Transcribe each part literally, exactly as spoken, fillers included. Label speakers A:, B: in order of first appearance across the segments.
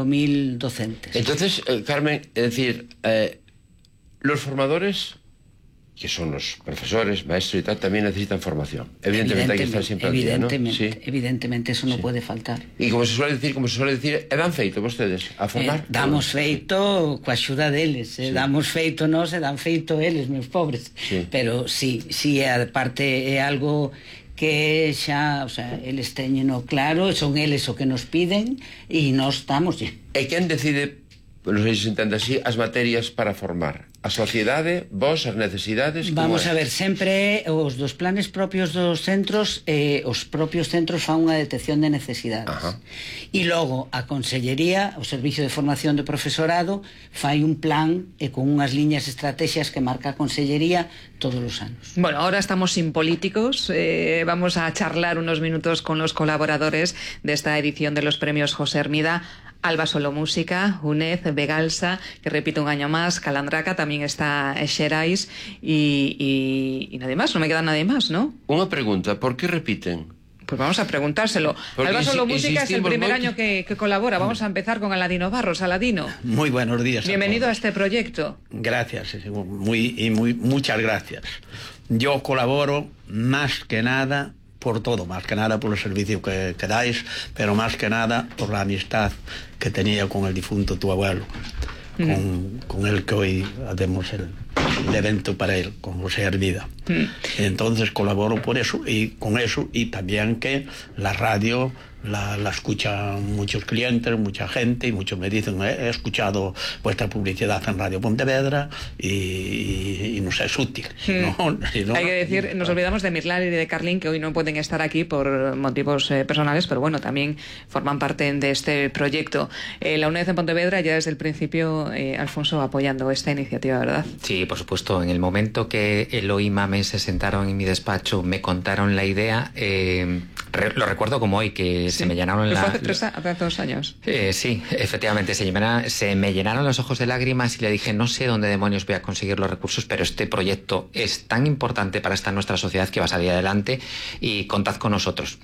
A: mil docentes.
B: Entonces, eh, Carmen, es decir, eh, los formadores, que son los profesores, maestros y tal, también necesitan formación. Evidentemente, hay que estar siempre al día, ¿no?
A: Evidentemente,
B: Sí.
A: evidentemente, eso no
B: Sí.
A: puede faltar.
B: Y como se suele decir, como se suele decir, e dan feito vostedes a formar?
A: Eh, damos feito coa axuda deles, eh,
B: Sí.
A: damos feito nós e dan feito eles, meus pobres.
B: Sí.
A: Pero sí, sí, aparte é algo que xa, o sea, eles teñeno claro, son eles o que nos piden e nós estamos.
B: E quen decide, non sei se se entende así, as materias para formar? A sociedade, vos, as necesidades?
A: Vamos a ver, sempre os dos planes propios dos centros, eh, os propios centros fan unha detección de necesidades.
B: Ajá.
A: E logo a Consellería, o Servicio de Formación do Profesorado, fai un plan e con unhas liñas estrategias que marca a Consellería todos os anos.
C: Bueno, ahora estamos sin políticos, eh, vamos a charlar unos minutos con los colaboradores de esta edición de los premios José Hermida. Alba Solo Música, UNED, Begalsa, que repite un año más, Calandraca, también está Xerais y, y, y nadie más, no me queda nadie más, ¿no?
B: Unha pregunta, por que repiten?
C: Pues vamos a preguntárselo.
B: Porque
C: Alba Solo
B: insi-
C: Música es el primer
B: moito.
C: año que, que colabora. Vamos a empezar con Aladino Barros. Aladino,
D: Muy buenos días.
C: bienvenido a
D: todos.
C: este proyecto.
D: Gracias, muy, y muy, muchas gracias. Yo colaboro más que nada por todo, más que nada por el servicio que, que dais, pero más que nada por la amistad que tenía con el difunto tu abuelo, mm. con, con el que hoy hacemos el, el evento para él, con José Hermida. Mm. Entonces colaboro por eso y con eso, y también que la radio la, la escuchan muchos clientes, mucha gente, y muchos me dicen, he escuchado vuestra publicidad en Radio Pontevedra y, y, y nos es útil.
C: Mm.
D: ¿No? Si no,
C: Hay que decir, nos olvidamos de Mirlar y de Carlín, que hoy no pueden estar aquí por motivos eh, personales, pero bueno, también forman parte de este proyecto. Eh, la UNED en Pontevedra ya desde el principio, eh, Alfonso, apoyando esta iniciativa, ¿verdad?
E: Sí, por supuesto. En el momento que Eloy y Mame se sentaron en mi despacho, me contaron la idea, eh, re lo recuerdo como hoy, que
C: sí.
E: se me llenaron
C: la...
E: la...
C: Fue hace, tres, hace dos años.
E: Eh, sí, efectivamente, se, llena, se me llenaron los ojos de lágrimas y le dije, no sé dónde demonios voy a conseguir los recursos, pero este proyecto es tan importante para esta nuestra sociedad que va a salir adelante y contad con nosotros.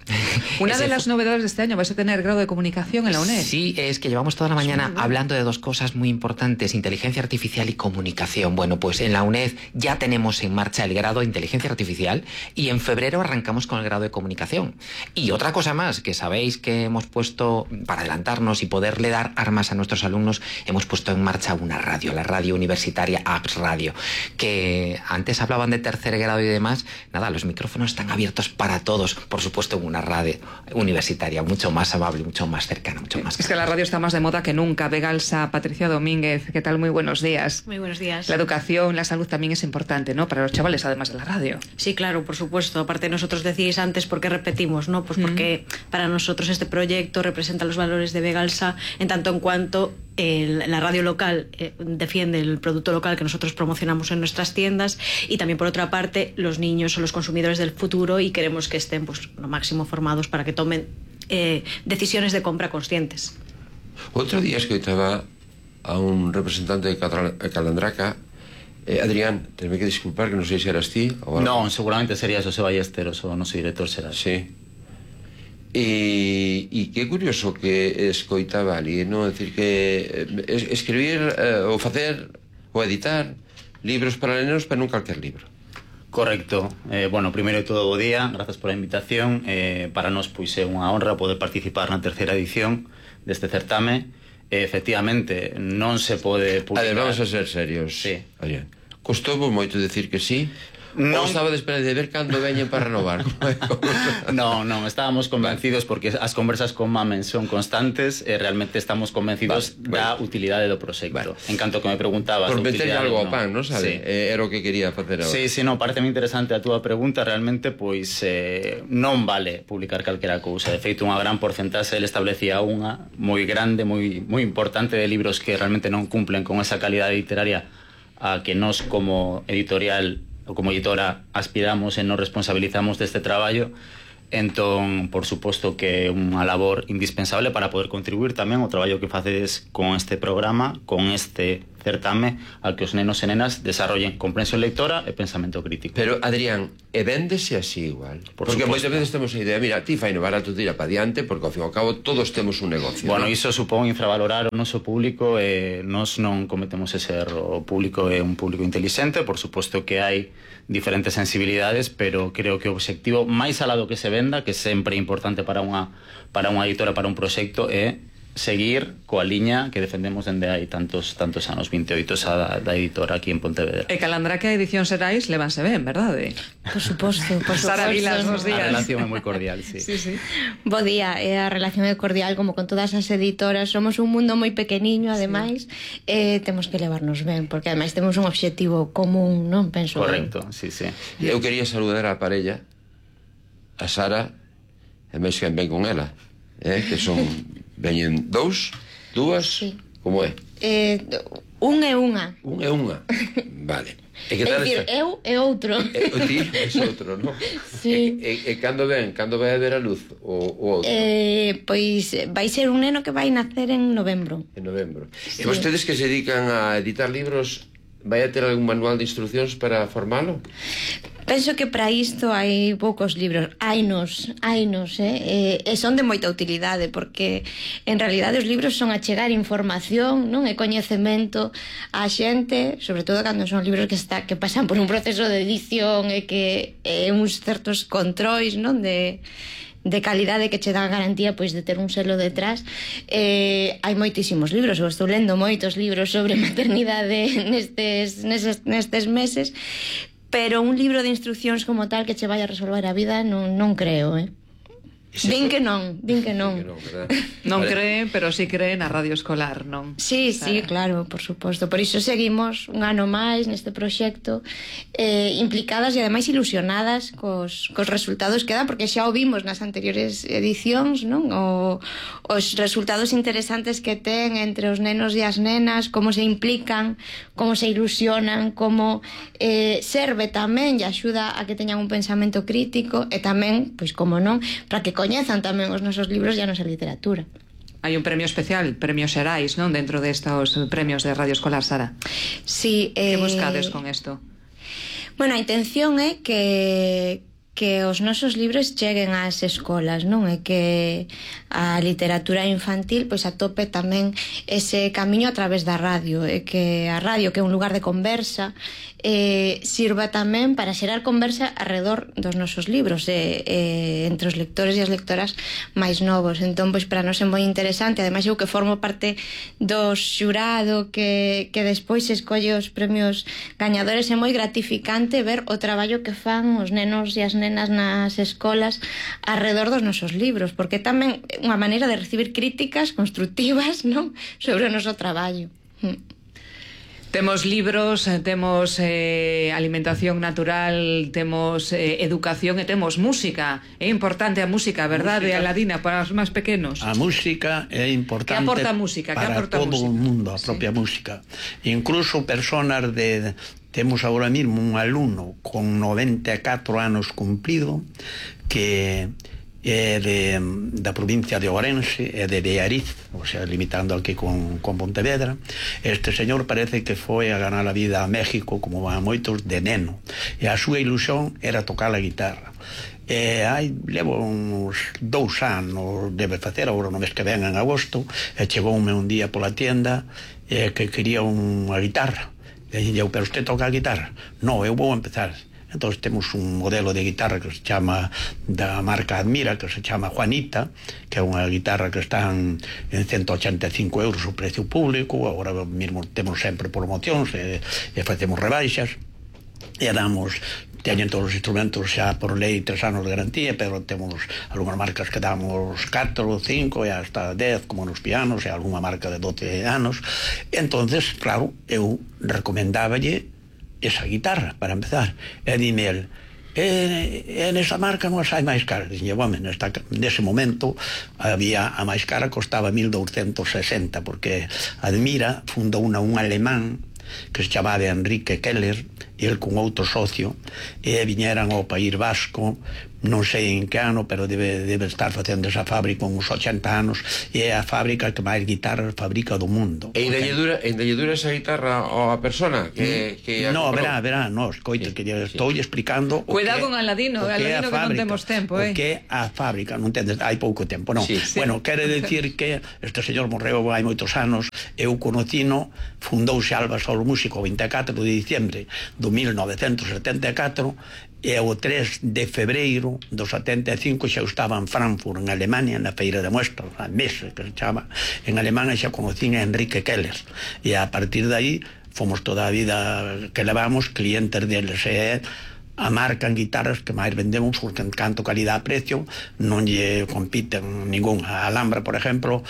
C: Una de las novedades de este año, vais a tener grado de comunicación en la UNED.
E: Sí, es que llevamos toda la mañana hablando de dos cosas muy importantes, inteligencia artificial y comunicación. Bueno, pues en la UNED ya tenemos en marcha el grado de inteligencia artificial y en febrero arrancamos con el grado de comunicación. Y otra cosa más, que sabéis que hemos puesto, para adelantarnos y poderle dar armas a nuestros alumnos, hemos puesto en marcha una radio, la radio universitaria Apps Radio, que antes hablaban de tercer grado y demás. Nada, los micrófonos están abiertos para todos, por supuesto en una radio universitaria mucho más amable, mucho más cercana, mucho más
C: Es que la radio está más de moda que nunca. Begalsa, Patricia Domínguez, ¿qué tal? Muy buenos días.
F: Muy buenos días.
C: La educación, la salud también es importante, ¿no? Para los chavales, además de la radio.
F: Sí, claro, por supuesto. Aparte, nosotros decíais antes por qué repetimos, ¿no? Pues porque mm. para nosotros este proyecto representa los valores de Begalsa en tanto en cuanto el, la radio local eh, defiende el producto local que nosotros promocionamos en nuestras tiendas, y también por otra parte los niños son los consumidores del futuro y queremos que estén pues lo máximo formados para que tomen eh, decisiones de compra conscientes.
B: Outro día escoitaba a un representante de Calandraca. eh, Adrián, tenme que disculpar que non sei se eras ti ou
G: No, seguramente sería José Ballesteros, o noso director será.
B: Sí. E, e que curioso que escoitaba ali, non? É dicir, que es, escribir eh, ou facer ou editar libros para nenos, pero non calquer libro.
G: Correcto. Eh, bueno, primeiro de todo, bo día, grazas pola invitación. Eh, para nós, pois, é unha honra poder participar na terceira edición deste certame. Eh, efectivamente, non se pode publicar...
B: A ver, vamos a ser serios.
G: Sí.
B: Oye, custou moito decir que sí? Non estaba de esperar de ver cando veñen para renovar.
G: Non, non, estábamos convencidos porque as conversas con Mamen son constantes e realmente estamos convencidos vale, da bueno. utilidade do proxecto. Vale. En canto que me preguntabas...
B: Por meter algo ao pan, non sabe? Sí. Eh, era o que quería facer agora.
G: Sí, sí, non, parece interesante a túa pregunta. Realmente, pois, eh, non vale publicar calquera cousa. De feito, unha gran porcentaxe, ele establecía unha moi grande, moi, moi importante de libros que realmente non cumplen con esa calidade literaria a que nós como editorial ou como editora aspiramos e nos responsabilizamos deste traballo. Entón, por suposto que é unha labor indispensable para poder contribuir tamén ao traballo que facedes con este programa, con este certame al que os nenos e nenas desarrollen comprensión lectora e pensamento crítico.
B: Pero, Adrián, e véndese así igual?
G: Por
B: porque
G: suposto.
B: moitas veces temos a idea, mira, ti fai no barato, tira pa diante, porque ao fin e ao cabo todos temos un negocio.
G: Bueno,
B: ¿no?
G: iso supón infravalorar o noso público e nós non cometemos ese erro. O público é un público inteligente, por suposto que hai diferentes sensibilidades, pero creo que o obxectivo máis alado que se venda, que sempre é importante para unha, para unha editora, para un proxecto, é seguir coa liña que defendemos dende hai tantos tantos anos, vinte e oito xa da, da editora aquí en Pontevedra.
C: E calandrá que a edición Serais levanse ben, verdade?
F: Por suposto, por
C: Sara Vilas, bos
G: A
C: días.
G: relación é moi cordial, sí.
C: Sí, sí.
F: Bo día, e a relación é cordial como con todas as editoras. Somos un mundo moi pequeniño, ademais, e temos que levarnos ben, porque ademais temos un obxectivo común, non? Penso.
G: Correcto, sí, sí.
B: Eu quería saludar a parella, a Sara, e máis que ben con ela, eh? que son veñen dous, dúas,
F: Sí.
B: como é?
F: Eh, un e unha.
B: Un e unha. Vale. E que
F: É
B: tal
F: dicir,
B: esta?
F: eu e outro.
B: E, o ti é outro, non?
F: Sí.
B: E, e, e cando ven, cando vai a ver a luz o, o outro?
F: Eh, pois vai ser un neno que vai nacer en novembro.
B: En novembro.
F: Sí.
B: E vostedes que se dedican a editar libros, vai a ter algún manual de instruccións para formalo?
F: Penso que para isto hai poucos libros, hainos, hainos, eh? E, e son de moita utilidade, porque en realidade os libros son achegar información, non? E coñecemento á xente, sobre todo cando son libros que está que pasan por un proceso de edición e que e uns certos controis, non? De de calidade que che dá a garantía pois de ter un selo detrás. Eh, hai moitísimos libros, eu estou lendo moitos libros sobre maternidade nestes, nestes, nestes meses, pero un libro de instruccións como tal que che vai a resolver a vida non, non creo, eh? Din que non, din que non.
B: Que non, verdad?
C: Non
B: Vale.
C: cree, pero sí cree na radio escolar, non?
F: Sí, sí, claro, por suposto. Por iso seguimos un ano máis neste proxecto, eh, implicadas e ademais ilusionadas cos, cos resultados que dan, porque xa o vimos nas anteriores edicións, non? O, os resultados interesantes que ten entre os nenos e as nenas, como se implican, como se ilusionan, como eh, serve tamén e axuda a que teñan un pensamento crítico e tamén, pois como non, para que coñezan tamén os nosos libros e a nosa literatura.
C: Hai un premio especial, premio Serais, non? Dentro destos premios de Radio Escolar, Sara.
F: Sí,
C: Que
F: eh,
C: buscades con isto?
F: Bueno, a intención é que que os nosos libros cheguen ás escolas, non? E que a literatura infantil pois atope tamén ese camiño a través da radio, e que a radio, que é un lugar de conversa, eh, sirva tamén para xerar conversa alrededor dos nosos libros, e, eh, entre os lectores e as lectoras máis novos. Entón, pois para nós é moi interesante, ademais eu que formo parte do xurado que, que despois escolle os premios gañadores, é moi gratificante ver o traballo que fan os nenos e as nenas nas escolas alrededor dos nosos libros, porque tamén é unha maneira de recibir críticas constructivas, non? Sobre o noso traballo.
C: Temos libros, temos eh, alimentación natural, temos eh, educación e temos música. É importante a música, verdade,
D: Música.
C: Aladina, para os máis pequenos?
D: A música é importante
C: Que aporta a música? Que
D: para
C: aporta a
D: todo
C: música?
D: o mundo, a propia
C: Sí.
D: música. Incluso personas de... Temos agora mesmo un alumno con noventa e catro anos cumplido que é de, da provincia de Ourense, é de Beariz, o sea, limitando aquí con, con Pontevedra. Este señor parece que foi a ganar a vida a México, como a moitos, de neno. E a súa ilusión era tocar a guitarra. E hai, levo uns dous anos, debe facer, agora no mes que ven en agosto, e chegoume un día pola tienda e que quería unha guitarra. E eu, pero usted toca a guitarra? No, eu vou empezar. Entón temos un modelo de guitarra que se chama, da marca Admira, que se chama Juanita, que é unha guitarra que están en ciento ochenta e cinco euros o precio público. Agora mesmo temos sempre promocións e, e facemos rebaixas e damos, teñen todos os instrumentos xa por lei tres anos de garantía, pero temos algunhas marcas que damos catro, cinco e hasta dez, como nos pianos, e algunha marca de doce anos. Entonces, claro, eu recomendáballe esa guitarra para empezar, e dime el, e, e nesa marca non as hai máis caras. Dixen, bueno, nesta, nese momento había a máis cara, costaba mil douscentos sesenta, porque Admira fundou unha un alemán que se chamaba Enrique Keller, el con outro socio, e viñeran ao País Vasco, non sei en que ano, pero debe, debe estar facendo esa fábrica uns ochenta anos, e é a fábrica que máis guitarras fabrica do mundo.
B: E indalledura, indalledura esa guitarra a persona que, que
D: no, verá, verá, no, escoite, sí, que lle estou sí. explicando
C: cuidado con Aladino, Aladino que non temos tempo, eh?
D: O que é a fábrica, non entendes, hai pouco tempo, non.
B: Sí,
D: sí. Bueno, quere decir que este señor morreu hai moitos anos, eu conocino, fundouse Alba Solo Músico o vinte e catro de diciembre do mil novecentos setenta e catro, e o tres de febreiro do setenta e cinco xa estaba en Frankfurt, en Alemania, na feira de muestras, a Messe, que se chama en alemán, e xa conocín a Enrique Keller, e a partir de aí fomos toda a vida que levamos clientes deles, e a marca en guitarras que máis vendemos, porque en canto calidad-precio non lle compiten ningún. A Alhambra, por exemplo,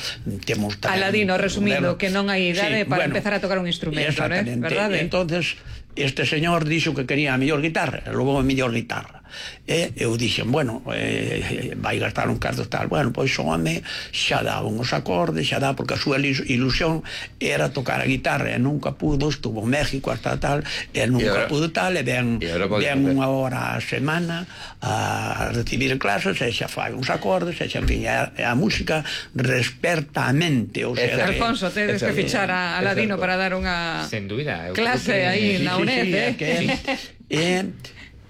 D: temos tamén...
C: Aladino, resumindo, que non hai idade sí, para bueno, empezar a tocar un instrumento, ¿eh? ¿Verdade?
D: Entonces, este señor dixo que quería a mellor guitarra, e logo a mellor guitarra. E eu dixen, bueno, eh, vai gastar un carto tal, bueno, pois o home xa dá uns acordes, xa dá, porque a súa ilusión era tocar a guitarra, e nunca pudo, estuvo en México hasta tal, e nunca ahora, pudo tal, e ven, ven unha hora a semana a recibir clases, e xa fai uns acordes, e xa, en fin, a, a música resperta a mente, o sea,
C: Alfonso, tedes que fichar a Aladino para dar unha
E: sen dúbida,
C: clase aí na UNED,
D: sí, sí, eh? Que, eh,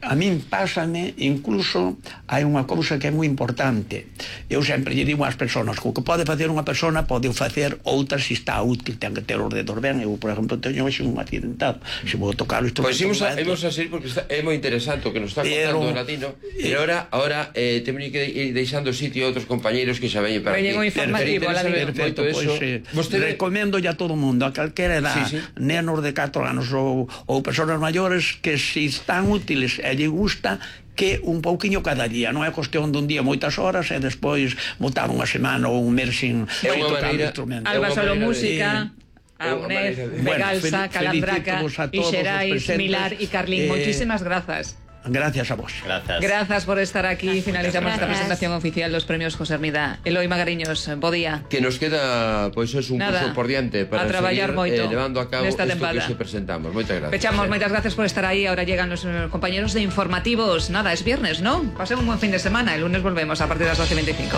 D: a min pásame, incluso hai unha cousa que é moi importante. Eu sempre lle digo ás persoas que o que pode facer unha persona pode facer outras se está útil, ten que ter os dedos ben. Eu, por exemplo, teño hoxe un accidentado, se vou tocar o instrumento.
B: Pois imos a, imos a seguir porque está, é moi interesante o que nos está contando o Latino, e agora, agora eh, temos que ir deixando sitio a outros compañeiros que xa veñen para
C: aquí. Veñen o informativo, Latino.
D: Perfecto, pois eh, Vostede... recomendo ya a todo o mundo, a calquera edad, sí, sí. nenos de catro anos ou, ou persoas maiores, que se están útiles e lle gusta, que un pouquiño cada día, non é cuestión dun día moitas horas e despois botar unha semana ou un mes sin tocar o instrumento.
C: Alba Solo Música, a UNED, Begalsa, Calandraca, Ixerais, Milar e Carlín, eh, moitísimas grazas.
D: Gracias a vos.
G: Gracias.
C: Gracias por estar aquí. Finalizamos esta presentación oficial dos premios José Hermida. Eloi Magariños, bo día.
B: Que nos queda, pois, pues, es un Nada, curso por diante para
C: a traballar
B: seguir
C: moito
B: eh, levando a cabo
C: nesta
B: isto
C: tempada.
B: Que se presentamos. Moitas gracias.
C: Pechamos, moitas gracias por estar aí. Ahora llegan los compañeros de informativos. Nada, es viernes, ¿no? Pasemos un buen fin de semana. El lunes volvemos a partir de las doce y veinticinco.